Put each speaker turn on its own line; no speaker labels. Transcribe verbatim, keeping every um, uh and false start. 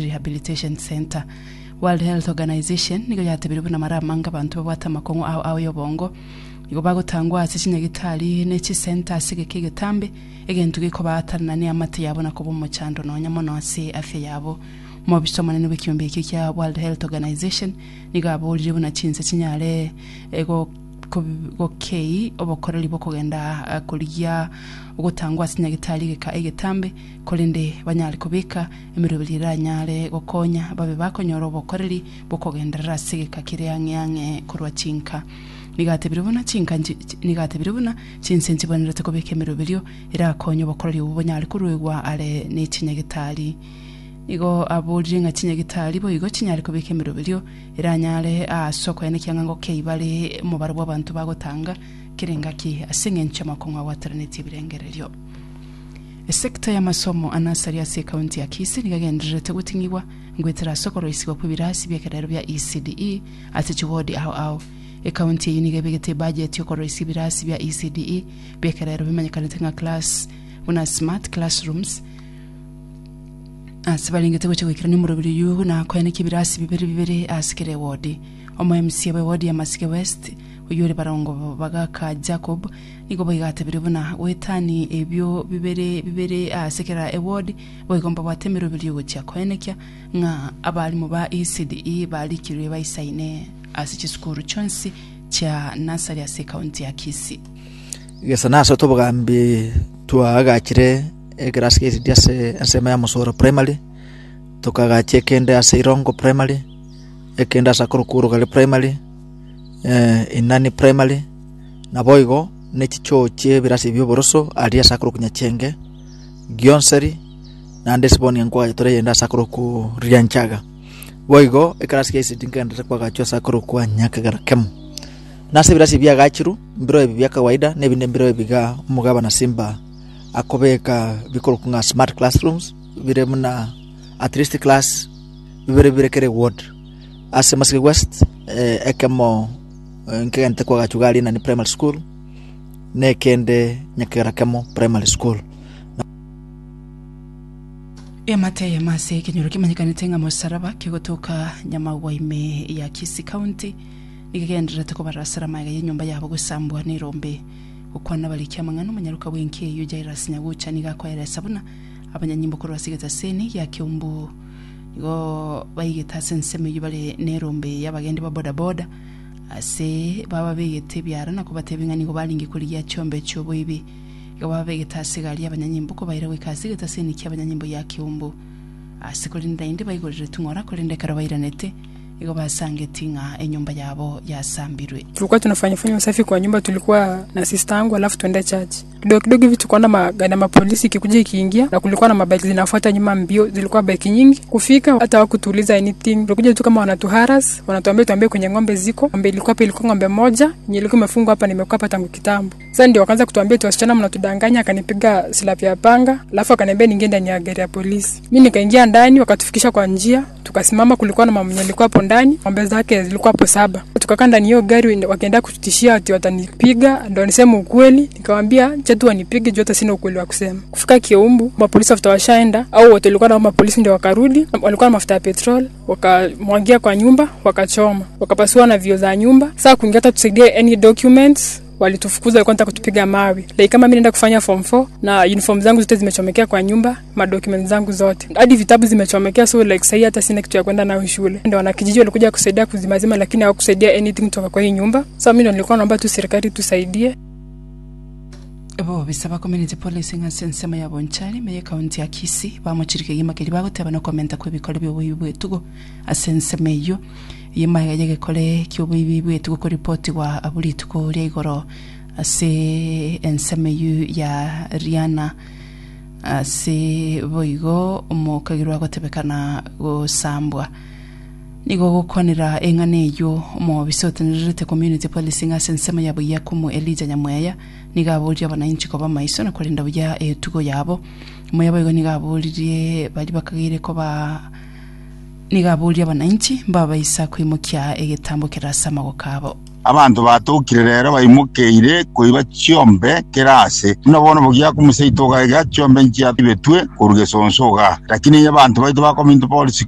Rehabilitation Centre. World Health Organization nigo yatebirie buna mara amange abanto babwate amakong'u ao ao y'obongo nigo bagotangwa ase chinyagitari ne chisenta ase egeka egetambe, egento gekobaatanana neamate yabo na koba omochando nonya mono ase afya yabo. Omobisa omonene bw'ekiombe ekio kia World Health Organization nigo aborire buna chinse chinyare gokei obokoreri bw'okogenda korigia ogotangwa ase nyagitari egeka egetambe, korende banyare kobeka emeroberi eranyare gokonya babe bakonyora obokoreri bw'okogenderera ase egeka kere ang'e ang'e korwa chinka. Nigo atebire buna chinka nigo atebire buna chinse nchibwenerete kobeka emeroberio erakonye obokoreri obwo bonyare koruegwa are ne chinyagitari. Nigo aborire ng'a chinyagitari boigo chinyare kobeka emeroberio eranyare ase okoenekia ng'a ngokei bare omobaro bw'abanto bagotanga kera engaki ase engencho y'amakong'u abwateranetie ebirengererio. Esecta y'amasomo a nursery ase ecounty ya Kisii nigo egendererete goting'igwa ngoetera ase okoroisigwa kw'ebirasi bi'ekerero bia E C D E ase chiwodi ao ao. Ecounty eyio nigo ebegete ebudget y'okoroisia ebirasi bia E C D E bi'ekerero bimanyekanete ng'a class buna smart classrooms ase barengete gocha goikerania omoroberi oyio na koenekia ebirasi bibere bibere ase kera ewodi. Omo M C A bw'ewodi ya Masike West oyio ore Barongo Bagaka Jacob nigo boigo atebire buna goetani ebio bibere bibere ase kera ewodi boigo mbabwate emeroberi ogochia koenekia ng'a abarimu ba E C D E barikirwe baisaine ase chisukuru chionsi chia nursery ase ekaunti ya Kisii.
Gesa nase obogambi twaagachire ekerasi kia E C D ase ensemo ya Mosoro Primary, tukagacha ekende ase Irongo Primary, ekende ase akorokwa Orogari Primary, eh, Inani Primary, naboigo ne chichoo chia ebirasi bia oboroso aria ase akorokwa Nyachenge, Gionseri, naende ase nkwagacha tore eyende ase akorokwa Rianchaga. Boigo ekerasi kia E C D nkenderete kwagachwa ase akorokwa Nyakegera Kemo. Nase ebirasi biagachirwe mbiro ebi bia kawaida na ebinde mbiro ebiga omogabana Simba akobeka bikorokwa ng'a smart classrooms bire buna at least class bibere bibere kere ward. Ase Masike West, eh, ekemo eh, nkegente kwagachwa iga aria Inani Primary School na ekende Nyakegera Kemo Primary School.
Eamate eyemo ase ekenyoro kemanyekanete ng'a Mosaraba kegotoka Nyamagwa ime ya Kisii County nigo egendererete kobarasera magega y'enyomba yabo gosambwa n'erombe. Gokwana bariki amang'ana omonyaroka bw'enki eyio Jairus Nyagucha nigo akoeresa buna abanyanyimbo korwa ase egetaseni gia Kiumbu nigo baigete ase ensemo eyio bare n'erombe y'abagendi ba bodaboda ase baba begete ebiara na kobatebia ng'a nigo baringe korigia chiombe chioboibi. Igo baba begete ase egari y'abanyanyimbo kobaira goika ase egetaseni kia abanyanyimbo ya Kiumbu ase korende naende baigorire tung'ora korende ekero bairanete igo basangeti ng'a enyomba yabo yasambirwe.
Tulikuwa tunafanya fanya usafi kwa nyumba, tulikuwa na sister yangu, alafu tuende church. Kidogo kidogo hivi tukaona magari ya mapolisi ikikuja ikiingia, na kulikuwa na mabike zinafuata nyuma mbio, zilikuwa bike nyingi. Kufika hata hawakutuuliza anything, tulikuja tu kama wanatuharass, wanatuambia tuambie kwenye ng'ombe ziko. Ng'ombe ilikuwa hapa, ilikuwa ng'ombe moja yenye ilikuwa imefungwa hapa, nimekuwa hapa tangu kitambo. Sasa ndio wakaanza kutuambia tu wasichana mnatudanganya, akanipiga slap ya panga, alafu akaniambia niingie ndani ya gari ya polisi. Mimi nikaingia ndani, wakatufikisha kwa njia, tukasimama. Kulikuwa na mama mwenye alikuwa hapo ndani, ng'ombe zake zilikuwa hapo saba. Tukakaa ndani hiyo gari, wakaenda kututishia ati watanipiga, ndo niseme ukweli. Nikamwambia acha tu wanipige juu hata sina ukweli wa kusema. Kufika Kiumbu, mapolisi after washaenda au wote walikuwa na mapolisi ndio wakarudi, walikuwa na mafuta ya petrol, wakamwagia kwa nyumba, wakachoma, wakapasua na vioo za nyumba. Sasa kuingia hata tusaidie any documents walitufukuza, walikuwa wanataka kutupiga mawe. Like kama mimi naenda kufanya form four na uniform zangu zote zimechomekea kwa nyumba, ma documents zangu zote, hadi vitabu zimechomekea, so like sahii hata sina kitu ya kwenda nayo shule. Ndio wanakijiji walikuja kusaidia kuzimazima, lakini hawakusaidia anything kutoka kwa hii nyumba. So mimi ndo nilikuwa naomba tu serikali tusaidie.
Bo bisaba community policing ase ensemo ya Bonchari ime ekaunti ya Kisii bamochirike gima keri bagoteba no komenta kwa ebikore bia oboibi bw'etugo ase ensemo eyio yemaega yegekore kia oboibi bw'etugo koripotigwa abwo rituko ria igoro ase ensemo eyio ya Riana ase boigo omokagirwa agotebekana gosambwa. Nigo gokwanera eng'ana eyio omobisa otenererete community policing ase ensemo ya Bogiakumu Elijah Nyamweya nigo aboririe abananchi koba maiso na korenda buya etugo yabo. Moya boigo nigo aboririe bari bakageire koba nigo aboririe abananchi mbabaisa koimokia egetambo kere ase amagoko abo.
Abantu batokire rero baimokeire koiba chiombe kerase buna bono bogia kumuseito gaiga chiombe nchia ibetwe korugesonso iga, lakini abantu baito ba community police.